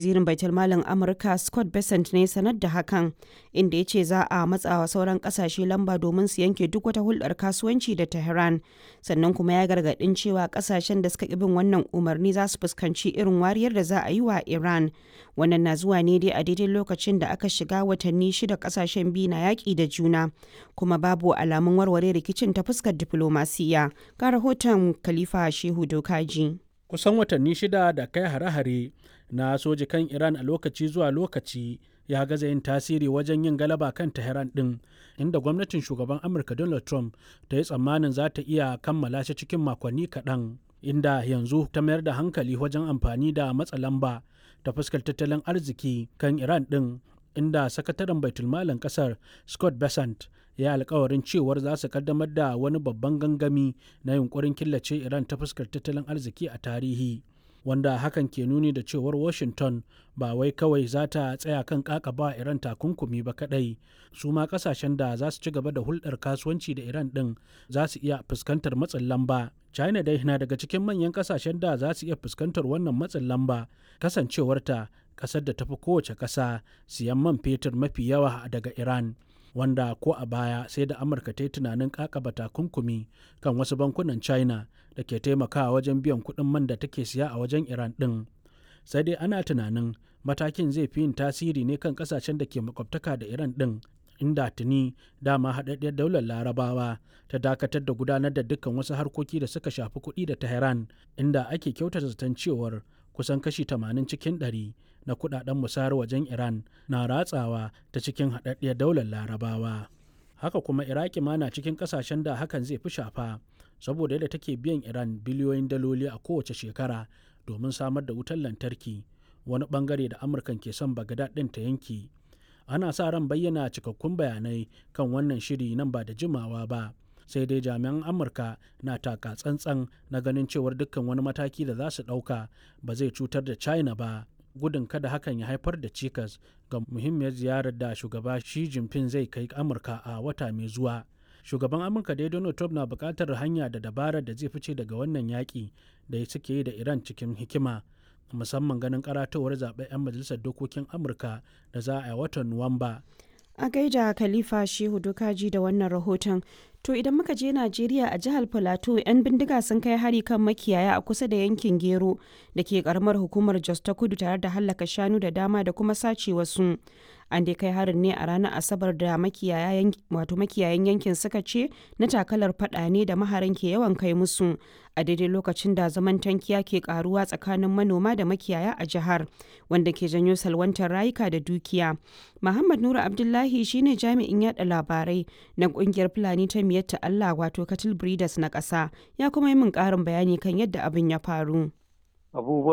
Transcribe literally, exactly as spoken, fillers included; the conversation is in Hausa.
Wazirin Baitulmalin Amurka Scott Bessent ne sanar da hakan, inda ya ce za a matsawa sauran kasashe lamba domin su yanke duk wata hulɗar kasuwanci da Tehran, sannan kuma ya gargaɗin cewa kasashen da suka ƙi bin wannan umarni za su fuskanci irin wariyar da za a yi wa Iran. Wannan na zuwa ne dai a daidai lokacin da aka shiga watanni shida kasashen biyu na yaƙi da juna, kuma babu alamun warware rikicin ta fuskar diflomasiyya. Ga rahoton Khalifa Shehu Dokaji. Kusan watanni shida da kai hare-hare na soji kan Iran a lokaci zuwa lokaci ya gaza yin tasiri wajen yin galaba kan Tehran din, inda gwamnatin shugaban Amurka Donald Trump ta yi tsammanin za ta iya kammala shi cikin makonni kaɗan, inda yanzu ta mayar da hankali wajen amfani da matsa lamba ta fuskar tattalin arziki kan Iran din, inda sakataren baitulmalin kasar Scott Bessent ya alkawarin cewar za su kaddamar da wani babban gangami na yunkurin killace Iran ta fuskar tattalin arziki a tarihi, wanda hakan ke nuni da cewar Washington ba wai kawai za ta tsaya kan kakaba Iran takunkumi ba kadai, su ma kasashen da za su ci gaba da hulɗar kasuwanci da Iran din za su iya fuskantar matsin lamba. China dai na daga cikin manyan kasashen da za su iya fuskantar wannan matsin lamba, kasancewarta kasar da tafi kowace kasa siyan man fetur mafi yawa daga Iran, wanda ko a baya sai da Amurka ta yi tunanin kakaba takunkumi kan wasu bankunan China da ke taimakawa wajen biyan kuɗin man da take siya a wajen Iran ɗin. Sai dai ana tunanin matakin zai fi yin tasiri ne kan kasashen da ke makwabtaka da Iran ɗin, inda tuni dama haɗaɗɗiyar Daular Larabawa ta dakatar da gudanar da dukkan wasu harkoki da suka shafi kuɗi da Tehran, inda ake kyautata zaton cewar kusan kashi tamanin cikin ɗari na kudaden musayar wajen Iran na ratsawa ta cikin haɗaɗɗiyar Daular Larabawa. Haka kuma Iraki ma na cikin ƙasashen da hakan zai fi shafa, saboda yadda take biyan Iran biliyoyin daloli a kowace shekara domin samar da wutar lantarki, wani bangare da Amurkan ke son Bagdad ɗin ta yanki. Ana sa ran bayyana cikakkun bayanai kan wannan shiri nan ba da jimawa ba. Sai dai jami'an Amurka na taka tsantsan na ganin cewar dukkan wani mataki da za su ɗauka ba zai cutar da China ba, gudun kada hakan ya haifar da cikas ga muhimmiyar ziyarar da shugaba Xi Jinping zai kai Amurka a wata mai zuwa. Shugaban Amurka dai Donald Trump na buƙatar hanya da dabarar da zai fice daga wannan yaƙi da suke yi da Iran cikin hikima, musamman ganin karatowar zaɓen 'yan majalisar dokokin Amurka da za a yi watan Nuwamba. A gaida Khalifa Shehu Dokaji da wannan rahoton. To idan muka je Najeriya, a jihar Plateau, 'yan bindiga sun kai hari kan makiyaya a kusa da yankin Gero da ke karamar hukumar Jos ta Kudu tare da hallaka shanu da dama da kuma sace wasu. An dai kai harin ne a ranar Asabar da makiyayan wato makiyayan yankin suka ce na takalar fada ne da maharan ke yawan kai musu a daidai lokacin da zaman tankiya ke karuwa tsakanin manoma da makiyaya a jihar, wanda ke janyo salwantar rayuka da dukiya. Muhammad Nura Abdullahi shine jami'in yada labarai na kungiyar Fulani ta Miyatta Allah, wato Cattle Breeders na ƙasa, ya kuma yi min ƙarin bayani kan yadda abin ya faru. Abubuwan